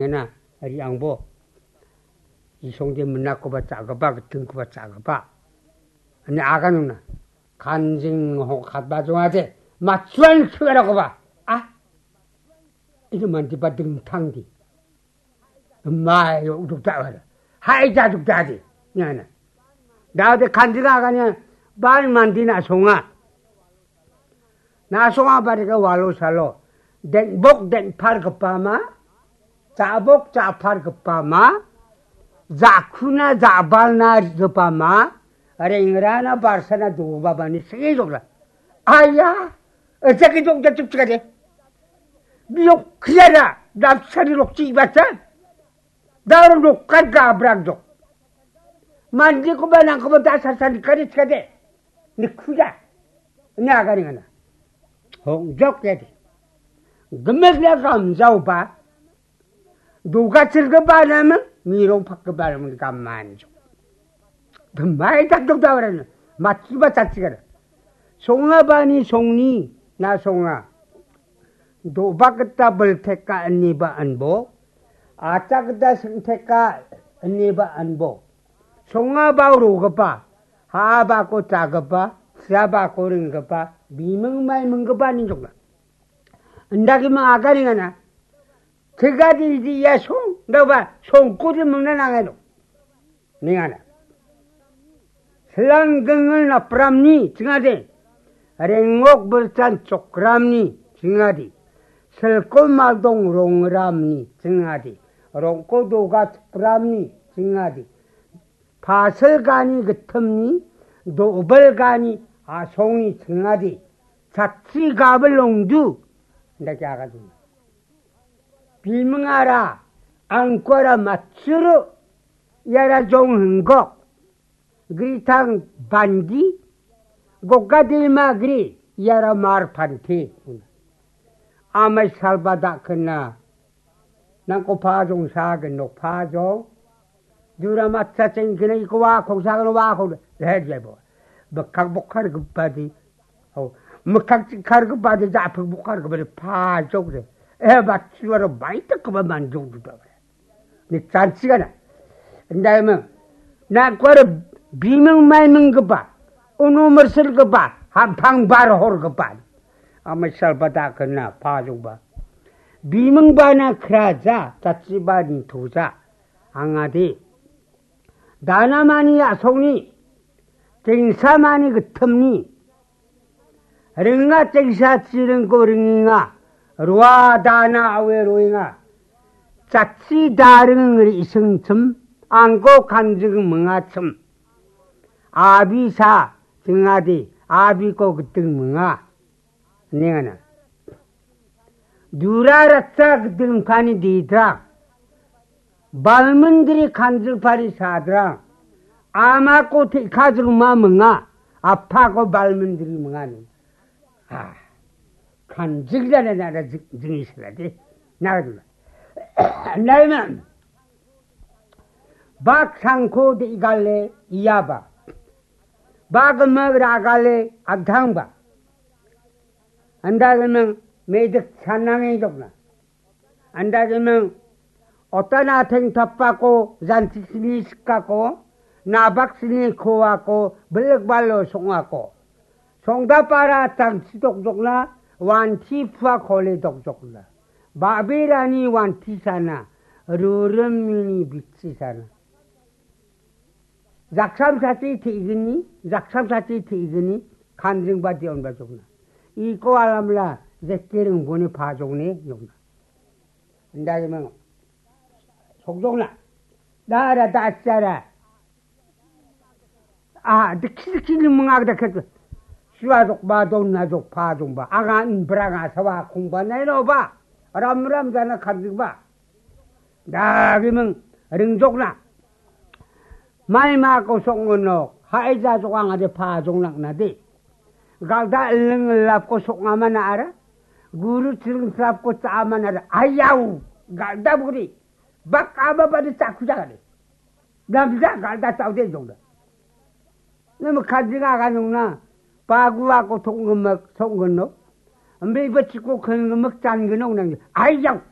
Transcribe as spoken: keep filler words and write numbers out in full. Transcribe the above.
Ena, ri·angbo. Isongde minakoba cha·gipa, gitingkoba cha·gipa. Ine aganona. Kanjing ho katba jongade. Matsuan sugarakoba. Ah. Itu mantiba dingtangdi. Mai yo uduk tawar. Hai jaduk dadi. Nyana. Dade kanjing aganya. Ban mandina songa. Nasonga barika walo salo. Denbok denpar gipama. Jabok japar gipama. Jakuna jabalna gipama. Rengrana barsana dobabani senge jokla. Aya. Ejaki jok jatup chikade. Biok kriara. Dapsari lokchi ibacha. Daru lokar gabrak jok. Mandi ko ba nang ko ba dasar sani kari chikade. Ni kuda. Ni agari ngana. Hong jok ya di. Gemek ya gam jauh ba. Duga chil ke ba nama. Ni rong pak ke ba nama gam manjo. Demai tak dok da orang. Mati ba tak chikada. Songa bani songni na songa. Do ba kita bel teka ani ba anbo. Acha kita sing teka ani ba anbo. Songa ba ro gapa. Ha ba ko cha gapa. Sia ba ko ring gapa. Bimeng mai meng gapa ni jokna. Anda ki ma agari ngana. Tiga di di ya song. Da ba song ko di meng na nangai do. Ningana. Selang gengel napramni chingade. Rengok berchan chokramni chingade. Selko maldong rongramni chingade. Rongko doga chokramni chingade. Pasel gani gitimni, dobel gani asongni chingade. Chatri gabel longdu. Ndake agadu. Bimingara, angkora matsuru, iara jong hinggok, gritang bandi, gogadilma gri, iara mar panti. Amai salba dakena, nangko pajong sagen nok pajong, Dura matcha chengkina iko wa kong sagan wa kong. Eh, dia bo. Bekak bokar gepadi. Oh, mekak cikar gepadi, japek bokar gepadi. Pajok de. Eh, bat suara baita keba manjok juga. Ni chansi kana. Ndai meng. Na kuara bimeng mai meng gepa. Unu mersel gepa. Hampang bar hor gepa. Amai salba dakena pajok ba. Bimeng bana keraja, caci bani toja. Angade. Danamani asongni, tengsamani gittimni, ringa tengsa chiringko ringenga, rua dana awe roenga, chatsi daring ri·singchim, angko kanjing mingachim, abisa chingade, abiko giting minga. Nengana. Dura ratsa gidingpani didra. Balmindri kanjilpari sadra. Amako tekajingma minga. Apako balmindri mingani. Ah. Kanjigla na na jing-, jingisla de. Na. Naima. Bak sangko de igale iyaba. Ba gima ragale agdangba. Anda giming medik sanangi jokna. Anda giming otana teng tapako janti sini sikako, nabak sini kowako, belik balo songako. Songdapara tangsi dok jokna, wanti pua kole dok jokna. Babirani wanti sana, rurim mini bitsi sana. Jaksam sati te·gni, jaksam sati te·gni, kanjingba de·onba jokna. Iko alamla jeke ringboni pajokne jokna. Indagimang. Sokjokna. Dara dachara. Ah, dikhi dikhi ni mangak dikhi. Sua jokba, dona jokpa jongba. Anga inbranga sawa kongba nainoba. Ram ram jana kanjingba. Dagimang ringjokna. Maima kosong ngonok. Haija jok angade pajong nakna de. Galda iling lapko sokngamana ara. Guru chiring lapko chaamana ara. Ayau. Galda buri. Bak aba bade chaku jagade. Namja galda chaude jongda. Nama kanjing aga nungna. Pagua ko thong gemek, thong geno. Ambe bachiko khen gemek chan geno nang. Ayau.